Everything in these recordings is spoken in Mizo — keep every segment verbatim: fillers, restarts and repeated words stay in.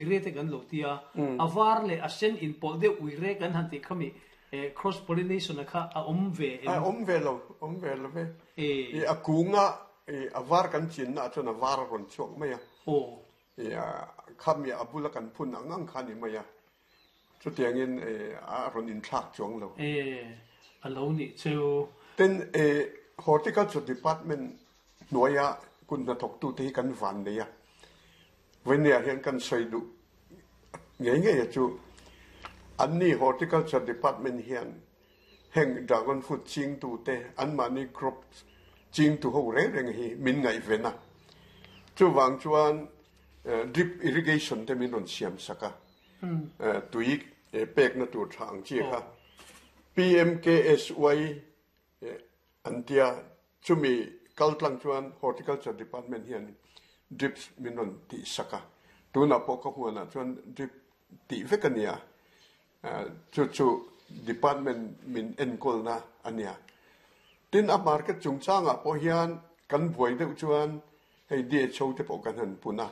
Uire te kan lo tia, a var leh a sen inpawlh deuh uire kan han tih khami cross pollination a kha a awm ve em? A awm ve lo, awm ve lo ve. I a kunga a var kan chinna ah chuan a var a rawn chhuak mai a. I khami a bula kan phun ang ang kha a ni mai a. Chutiangin a rawn inthlak chuang lo. E, a lo nih chu. Tin, Horticulture Department hnuaia kut hnathawktute hi kan van nei a. Vawinia hian kan sawi duh ngei ngei a chu anni Horticulture Department hian heng dragon fruit chingtute anmahni crop chingtu ho reng reng hi min ngaihven a. Chuvang chuan drip irrigation te min rawn siam sak a, tui pekna tur tha ang chi kha P M K S Y an tia, chumi kaltlang chuan Horticulture Department hian drips min rawn tih sak a. Tunah pawh ka huanah chuan drip tih vek a nia. Chu chu department min enkawlna a nia. Tin, a market chungchangah pawh hian kan buai deuh chuan hei D H O te pawh kan han pun a.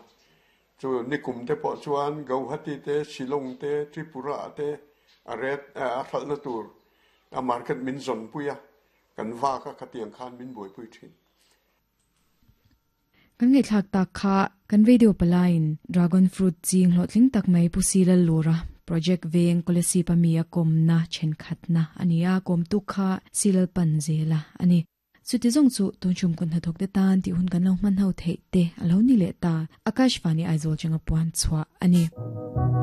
Chu nikum te pawh chuan Guwahati te, Shillong te, Tripura te a ret a hralhna tur a market min zawnpui a, kan vak a, khatiang khan min buaipui thin. Kan ngaihthlak tak kha kan radio palain dragon fruit ching hlawhtling tak mai Pu Silal Lura, Project Veng, Kolasib ami a kawmna thenkhatna ania. Kawmtu kha Silal pan zela ani. Chuti zong chu tun chum kun hnathawk te tan ti hun kan lo hman ho thei te alo ni le ta. Akashvani Aizawl changa puan chhuah ani.